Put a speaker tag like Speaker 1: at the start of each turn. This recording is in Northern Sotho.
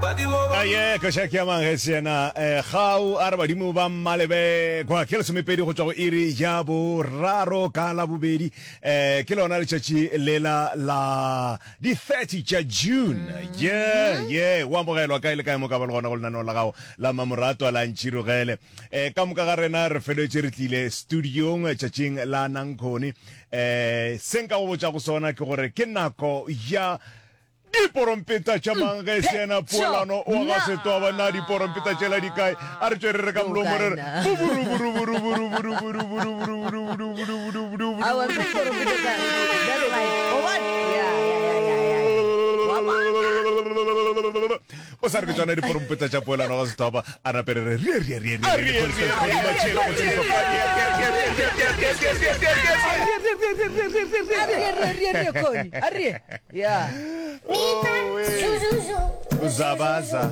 Speaker 1: Aye, koša ke ya mang ge se yena eh, Gau a re badimo ba mmalebekwa ke lesomepedi go tšwa go iri ya boraro ka labobedi eh, ke lona letšatši lela la di 30 tša June ye ye o amogelwa kae le kae mo ka ba le gona go lenaneo la gago la mamoratwa la ntšhirogele eh, ka moka ga rena re feletše re tlile studiong tšatšing la nankgone eh, se nka go botša go sona ke gore ke nako ya Diporompeta tša mang ge e se yena Poelano wa ga Setwaba? Na diporompeta tšela di kae? A re tšwe re re ka molomo re re O sa re ke tšona diporompeta tša Poelano ga Setwaba, a nape re re rie rie rie rie rie
Speaker 2: rie.
Speaker 1: Zabaza.